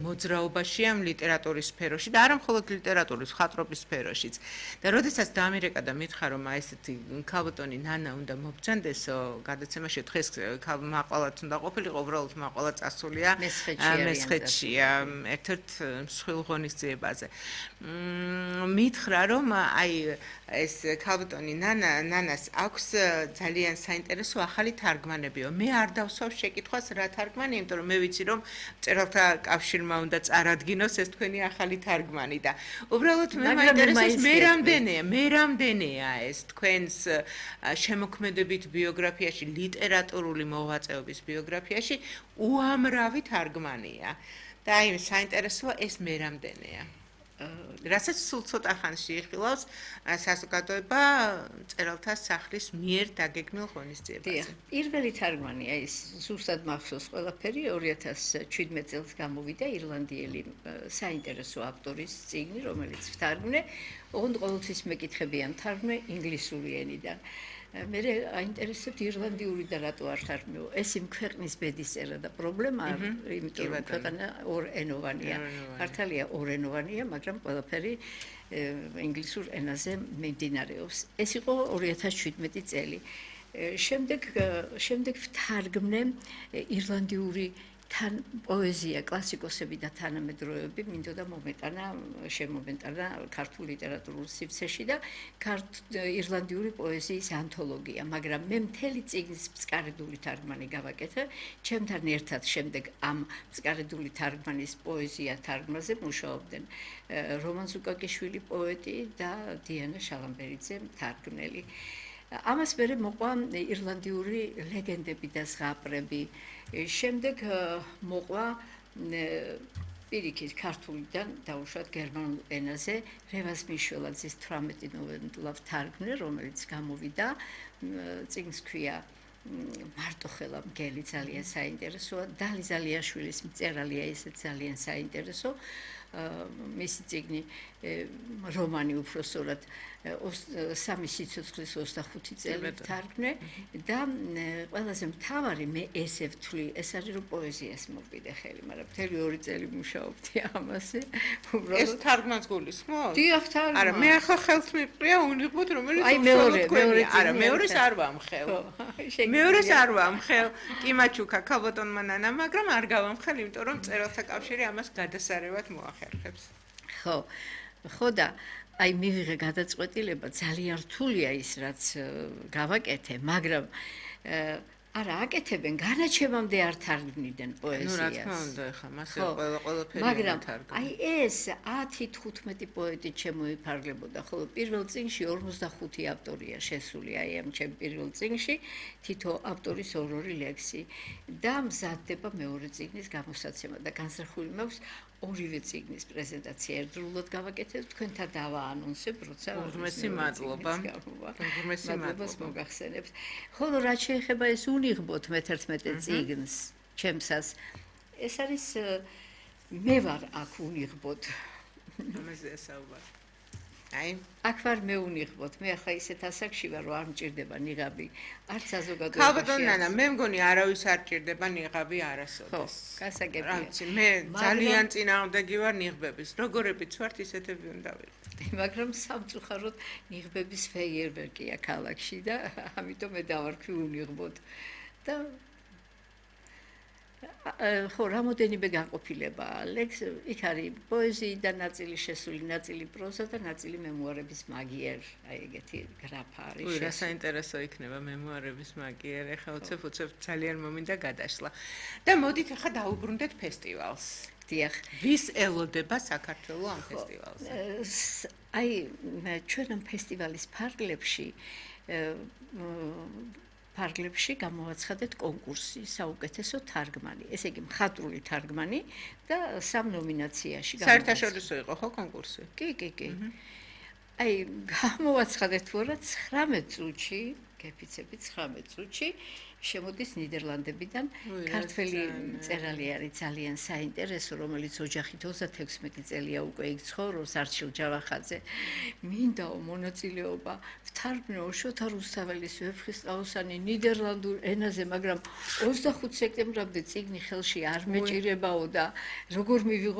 მოძრაობაში ამ ლიტერატურის სფეროში და არა მხოლოდ ლიტერატურის, მხატვრობის სფეროშიც. და როდესაც დამირეკა და მითხრა, რომ აი ესეთი ქალბატონი ნანა უნდა მობრძანდესო, გადაცემაში დღეს მაყვალაც უნდა ყოფილიყო, უბრალოდ მაყვალა წასულია მესხეთშია, ერთ-ერთ მსხვილ ღონისძიებაზე. მითხრა, რომ აი ეს ქალბატონი ნანას აქვს ძალიან საინტერესო ახალი თარგმანებიო. მე არ დავსვავ შეკითხვას რა თარგმანი, იმიტომ რომ მე ვიცი, რომ მწერალთა კავშირმა უნდა წარადგინოს ეს თქვენი ახალი თარგმანი და უბრალოდ მე მაინტერესებს მე რამდენია ეს თქვენს შემოქმედებით ბიოგრაფიაში, ლიტერატურული მოღვაწეობის ბიოგრაფიაში უამრავი თარგმანია. და აი საინტერესოა ეს მე რამდენია. რასაც სულ ცოტა ხანში იხილავს საზოგადოება მწერალთა სახლის მიერ დაგეგმილ ღონისძიებაზე. პირველი თარგმანია ის ზუსტად მახსოვს ყველაფერი 2017 წელს გამოვიდა ირლანდიელი საინტერესო ავტორის წიგნი, რომელიც ვთარგმნე, ოღონდ ყოველთვის მეკითხებიან თარგმნე ინგლისური ენიდან. მე აინტერესებთ ირლანდიური და რატო არ თარგმნო? ეს იმ ქვეყნის ბედისწერა და პრობლემა არ, იმიტომ რომ ქვეყანა ორენოვანია. ქართალია ორენოვანია, მაგრამ ყველაფერი ინგლისურ ენაზე მიმდინარეობს. ეს იყო 2017 წელი. შემდეგ ვთარგმნე ირლანდიური თან პოეზია, კლასიკოსები და თანამედროვეები მინდოდა შემომეტანა ქართულ ლიტერატურულ სივრცეში და ირლანდიური პოეზიის ანთოლოგია, მაგრამ მე მთელი წიგნის მწკარიდული თარგმანი გავაკეთე, ჩემთან ერთად შემდეგ ამ მწკარიდული თარგმანის პოეზია თარგმნაზე მუშაობდნენ რომან ზუკაკიშვილი პოეტი და დიანა შალამბერიძე თარგმნელი. ამას მერე მოყვა ირლანდიური ლეგენდები და ზღაპრები. შემდეგ მოყვა პირიქით ქართულიდან დაუშვათ გერმანულ ენაზე რევაზ მიშველაძის 18 ნოველა ვთარგმნე, რომელიც გამოვიდა, წიგნს ქვია მარტოხელა მგელი, ძალიან საინტერესოა. დალი ზალიაშვილის მწერალია, ესეც ძალიან საინტერესო. მისი წიგნი რომანი უბრალოდ სამი სიცოცხლის 25 წელი ვთარგმნე და ყველაზე მთავარი მე ესე ვთვლი, ეს არის რომ პოეზიას მოვიდე ხელი, მაგრამ მთელი 2 წელი მუშაობდი ამაზე. ეს თარგმანს გულისხმობ? დიახ, თარგმნა. არა, მე ახლა ხელს მიყრია უნიღბოთ, რომელიც არა, მეორეს არ ვამხელ. მეორეს არ ვამხელ. კიმაჩუკა ქალბატონმა ნანა, მაგრამ არ გავამხელ, იმიტომ რომ მწერალთა კავშირი ამას გადასარევად მოახერხებს. ხო და აი მივიღე გადაწყვეტილება, ძალიან რთულია ის რაც გავაკეთე, მაგრამ არა აკეთებენ განაჩენამდე არ თარგმნიდნენ პოეზიას. რა თქმა უნდა, ხა მასე ყველაფერი მაგრამ აი ეს 10-15 პოეტი შემოიფარგლებოდა, ხოლო პირველ წიგნში 45 ავტორია შესული, აი ამ ჩემ პირველ წიგნში თითო ავტორის 2 ლექსი და მზადდება მეორე წიგნის გამოსაცემა და განსახული მაქვს ორივე წიგნის პრეზენტაცია ერთდროულად გავაკეთებ, თქვენთან დავაანონსებ, როცა უღმესი მადლობა. უღმესი მადლობას მოგახსენებთ. ხოლო რაც შეეხება ეს უნიღბოთ მე-11 წიგნს, ჩემსას, ეს არის მე ვარ აქ უნიღბოთ. ამაზე საუბარი. აი, აქ ვარ მე უნიღბოთ. მე ახლა ისეთ ასაკში ვარ, რომ არ მჭირდება ნიღაბი, არც საზოგადოებაში. ქალბატონ ნანა, მე მგონი არავის არ ჭირდება ნიღაბი არასოდეს. გასაგებია. რაცი, მე ძალიან წინააღმდეგი ვარ ნიღბების. როგორებიც ვართ, ისეთები უნდა ვიყო. მაგრამ სამწუხაროდ ნიღბების ფეიერვერკია ქალაქში და ამიტომ მე დავარქვი უნიღბოთ. და ხო, რამოდენიმე განყოფილება ლექს, იქ არის პოეზიიდან ნაწილი შესული, ნაწილი პროზა და ნაწილი მემუარების მაგიერ, აი ეგეთი გრაფა არის. ой, რა საინტერესო იქნება მემუარების მაგიერ, ეხლა უცებ ძალიან მომინდა გადაშლა. და მოდით ახლა დაუბრუნდეთ ფესტივალს. დიახ. ვის ელოდება საქართველოს ამ ფესტივალზე? აი, ჩვენ ამ ფესტივალის ფარგლებში გამოვაცხადეთ კონკურსი საუკეთესო თარგმანი, ესე იგი მხატვრული თარგმანი და 3 ნომინაციაში საერთაშორისო იყო ხო კონკურსი? კი. აი, გამოვაცხადეთ ვარა 19 წუთში, გეფიცები 19 წუთში შემოდის ნიდერლანდებიდან. ქართველი მწერალი არის ძალიან საინტერესო, რომელიც ოჯახით 36 წელია უკვე იქ ცხოვრობს, არჩილ ჯავახაძე. მინდაო მონაწილეობა ვთარგმნო შოთა რუსთაველის ვეფხისტყაოსანი ნიდერლანდურ ენაზე, მაგრამ 25 სექტემბრამდე წიგნი ხელში არ მეჭირებაო და როგორ მივიღო